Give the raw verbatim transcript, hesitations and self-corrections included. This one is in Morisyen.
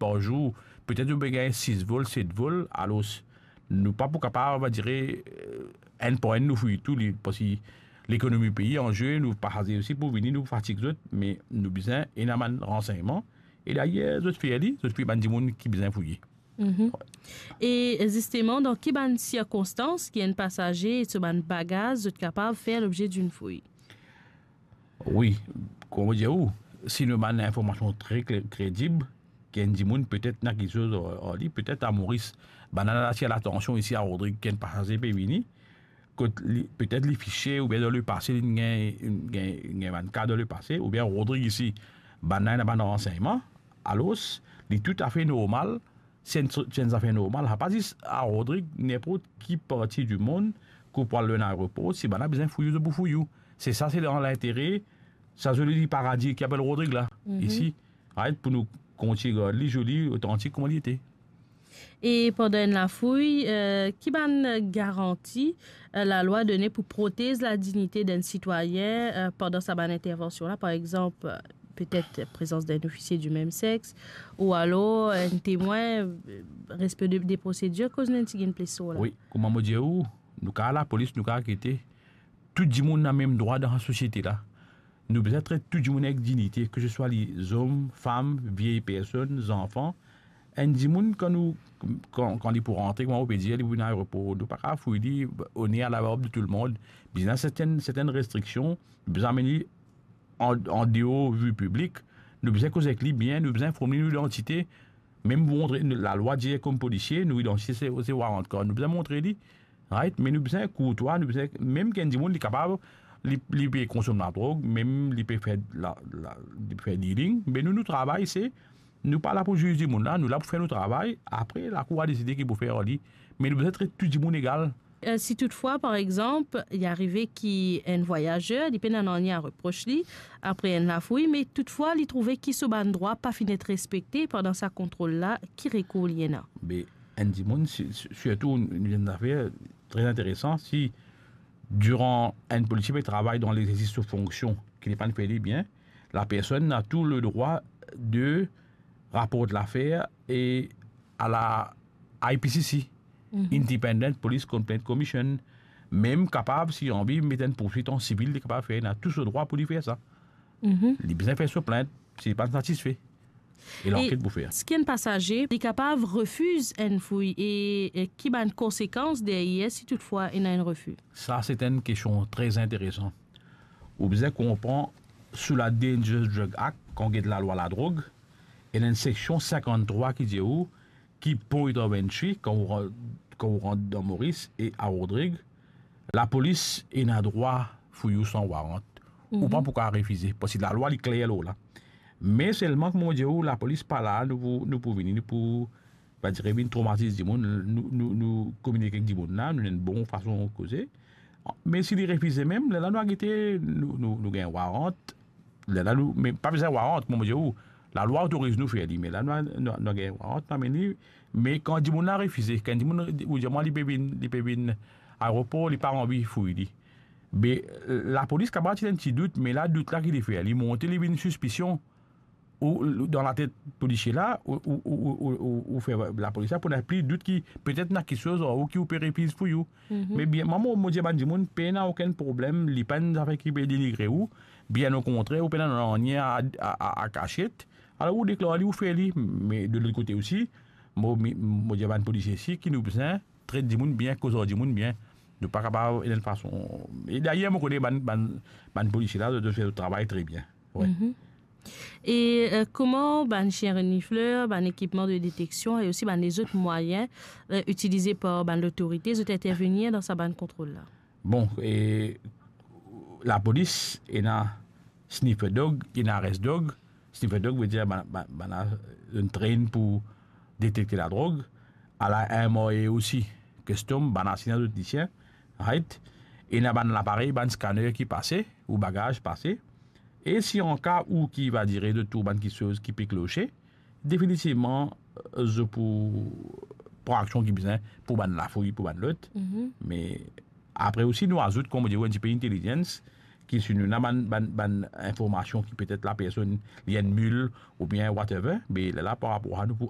par zour, petet nou pe gagn sis vol, set vol, alor nou pa pou kapav, va dire, eh, enn par enn nou fouy tou, li, parski lekonomi pei an zwe, nou pasaze osi pou vini, nou fatig zot, me nou bizin ena bann ransegnman, e dayer zot fer li, zot fer bann dimoun ki bizin fouye. Mhm. E zisteman, dan ki bann sirkonstans ki enn pasaze e so bann bagaz zot kapav fer lobze dinn fouy? Wi, kouma mo dir ou, si nou bann informasion tre kle-, kredib, ki enn dimoun petet ena kiksoz ar, ar li, petet a Moris, bann la atir latansion isi a Rodrig, ki enn pasaze pe vini, kot li, petet li fisie oubien dan lepase li gagn, gagn, gagn bann ka dan lepase, oubien Rodrig isi, bann la ena bann ransegnman, alor, li toutafe normal, se enn, se enn zafer normal, sa pa zis a Rodrig, ninport ki parti dimond, ki ou pou al dan enn aeropor, si bann la bizin fouy ou, zot pou fouy ou. Se sa, se dan lintere sa zoli paradi ki apel Rodrig la, mhm, isi, right, pou nou kontign gard li zoli, otantik kouma li ete. E pandan enn lafouy, eh, ki bann garanti, eh, lalwa done pou protez ladignite d'enn sitwayin, eh, pandan sa bann intervansion la, par exanp, eh, petet prezans d'enn ofisie di mem sex, ou alor enn temwin, eh, respe de, de prosedir, koz nou ti gagn plis lor la? Wi, kouma mo dir ou, nou kapav lapolis, nou kapav gete, tou dimoun ena mem drwa dan sa sosiete la. Nou bizin tret tou dimoun avek dignite, ke se swa li zom, fam, vie personn, zanfan. Enn dimoun, kan nou, kan, kan li pou rantre, kouma ou pe dir, li pou vinn aeropor, nou pa kapav fouy li, on est à la horde de tout le monde. Bizin sertenn, sertenn restriksion, bizin amenn li an, an deor vi piblik. Nou bizin koz avek li bien, nou bizin inform li nou idantite. Mem pou montre, lalwa dir kom polisie, nou idantite se, se warrant card. Nou bizin montre li, right? Me nou bizin kourtwa, nou bizin, mem ki enn dimoun, li kapav, li, li pe konsom ladrog, mem li pe fer la, la, li pe fer dealing, me nou, nou travay, se, nou pa la pou ziz dimoun la, nou la pou fer nou travay, apre, lakour a deside ki pou fer ar li. Me nou bizin tret tou dimoun egal. Eh, si toutfwa, par exanp, li arive ki enn vwayazer, li pena nanye a repros li, apre enn lafouy, me toutfwa, li trouve ki so bann drwa pa finn et respekte pandan sa kontrol la, ki rekour li ena? Be, enn dimoun, si, si, sirtou, nou, nou, enn zafer tre interesan, si diran enn polisie pe travay dan lexersis so fonksion, ki li pa'nn fer li bien, la personn ena tou le drwa de raport lafer e a la I P C C, mhm, Independent Police Complaint Commission, mem kapav, si li anvi, met enn pourswit an sivil, li kapav fer, li ena tou so drwa pou li fer sa. Mhm. Li bizin fer so plint, si li pa satisfe. E lanket pou fer. Eski enn pasaze, li kapav refiz enn fouy e, e ki bann konsekans deryer si toutfwa ena enn refi? Sa, se enn kestion tre interesan. Ou bizin konpran, sou la Dangerous Drug Act, kan ou get lalwa ladrog, ena enn seksion sinkanntrwa ki dir ou, ki point of entry, kan ou ran-, kan ou rant dan Moris e a Rodrig, lapolis ena drwa fouy ou san warrant. Ou pa pou kapav refize, parski lalwa li kler lor la. Me selman, kouma mo dir ou, lapolis pa la, nou pou, nou pou vini, nou pou, pa dire vinn tromatiz dimoun, nou, nou, nou kominike ek dimoun la, nou ena enn bon fason koze. Me si li refize mem, lerla nou a gete, nou, nou, nou gagn warrant, lerla nou, me pa bizin warrant, mo dir ou, lalwa otoriz nou fer li, me la nou, nou, nou gagn warrant, nou amenn li, me kan dimoun la refize, kan dimoun, ou dir mwa li pe vinn, li pe vinn aeropor, li pa anvi fouy li. Be, lapolis kapav ti ena enn ti dout, me la dout la ki li fer, li monte, li vinn sispision, ou, ou dan latet polisie la, ou, ou fer lapolis la pou ena pli dout ki petet ena kiksoz ar ou ki ou pe refiz fouy ou. Mhm. Me bien, mwa, mo, mo dir bann dimoun, pena okenn problem, li pa enn zafer ki pe denigre ou, bien okontrer, ou pena nanye a, a, a, a kasiet, alor ou deklar li, ou fer li, me de lot kote osi, mo, mi, mo dir bann polisie osi ki nou bizin tret dimoun bien, koz ar dimoun bien, nou pa kapav ena enn fason, e dayer mo kone bann, bann, bann polisie la, zot fer zot travay tre bien. Wi. Mhm. E, eh, kouma bann sien renifler, bann ekipman de deteksion e osi bann lezot mwayin, eh, itilize par bann lotorite, zot intervenir dan sa bann kontrol la? Bon, e lapolis ena sniffer dog, ena arrest dog. Sniffer dog vedir bann, bann, bann la, zot train pou detekte ladrog. Ala M R A osi, custom, bann la ena zot lisens, right? Ena bann laparey, bann scanner ki pase, ou bagaz pase. E si an ka ou ki va dir zot trouv bann kiksoz ki pe kloche, definitivman, zot pou pran aksion ki bizin pou bann lafouy, pou bann lot. Mhm. Me apre osi, nou azout, kouma dir, enn tipe intelligence, ki si nou ena bann, bann, bann informasion ki petet lapersonn, li enn mil oubien whatever, be lerla par rapor a nou pou